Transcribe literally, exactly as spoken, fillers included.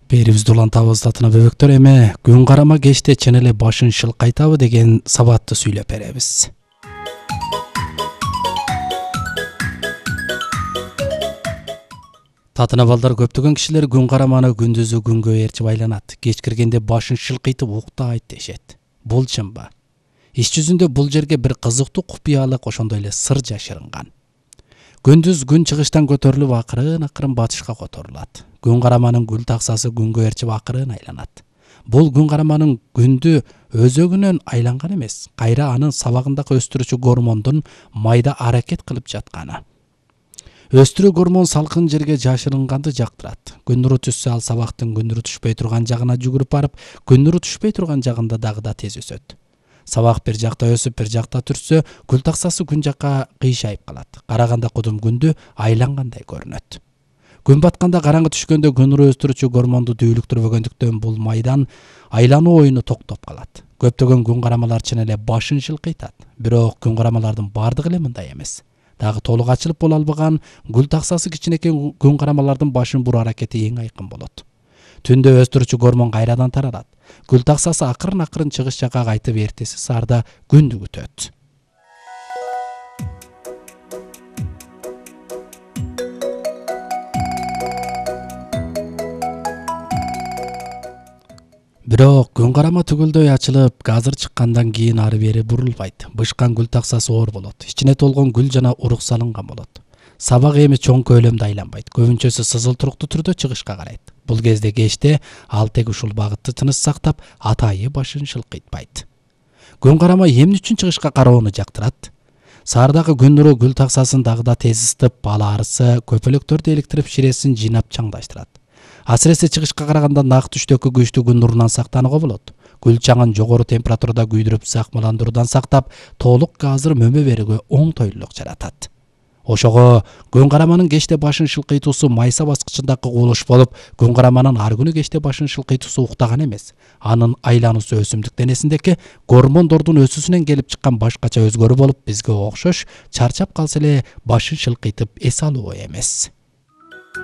Берибизди улантабыз татына бөбөктөр, эми күн карама кечте чын эле башын шылкайтабы деген сабатты сүйлөп беребиз. Татына балдар, көптөгөн кишилер күн караманы күндүзү күнгө ээрчип айланат. Кеч киргенде башын шылкыйтып уктайт дешет. Бул чынбы? Иш жүзүндө бул жерге бир кызыктуу купуялык, ошондой эле сыр жашырынган. Күндүз күн чыгыштан көтөрүлүп акырын-акырын батышка которулат. Күн караманын гүл таксасы күнгө ээрчип акырын айланат. Бул күн караманын күндү өзөгүнөн айланган эмес, кайра анын сабагындагы өстүрүүчү гормондун майда аракет кылып жатканы. Өстүрүү гормон салкын жерге жашырынганды жактырат. Күн нуру түшсө, ал сабактын күн нуру түшпөй турган жагына жүгүрүп барып, күн нуру түшпөй турган жагында дагы да тез өсөт. Сабак бир жакта өсүп, бир жакта түрсө, гүл таксасы күн жакка кыйшайып калат. Караганда кудум күндү айлангандай көрүнөт. Күн батканда, караңгы түшкөндө күн нуру өстүрүүчү гормонду дүүлүктүрбөгөндүктөн бул майдан айлануу оюну токтоп калат. Көптөгөн күн карамалар чын эле башын шылкыйтат. Бирок күн карамалардын бардыгы эле мындай эмес. Дагы толук ачылып боло албаган гүл таксасы кичинекей күн карамалардын башын буруу аракети эң айкын болот. Түндө өстүрүүчү гормон кайрадан таралат. Гүл таксасы акырын-акырын чыгыш жакка кайтып, эртеси саарда күндү күтөт. Бирок күн карама түгөлдөй ачылып, газыр чыккандан кийин ары бери бурулбайт. Бышкан гүл таксасы оор болот. Ичине толгон гүл жана урук салынган болот. Сабак эми чоң көлөмдө айланбайт. Көбүнчөсү сызыл туруктуу түрдө чыгышка карайт. Бул кезде кечте ал тег ушул багытты тыныс сактап, атайы башын шылкыйтпайт. Күн карама эмне үчүн чыгышка кароону жактырат? Саардагы күн нуру гүл таксасын дагы да тез ысытып, бала арысы, көпөлөктөрдү эликтирип, ширесин жыйнап чаңдаштырат. Асыресе чыгышка караганда нак түштөгү күчтүү күн нурунан сактанууга болот. Гүл чаңын жогору температурада күйдүрүп, сакмаландыруудан сактап, толук газыр мөмө берүүгө оңтойлуулук жаратат. Ошого күн караманын кечте башын шылкыйтуусу майса баскычындагы кубулуш болуп, күн караманын ар күнү кечте башын шылкыйтуусу уктаган эмес. Анын айлануусу өсүмдүк денесиндеги гормондордун өсүүсүнөн келип чыккан башкача өзгөрүү болуп, бизге окшош чарчап калса эле башын шылкыйтып эс алуу эмес.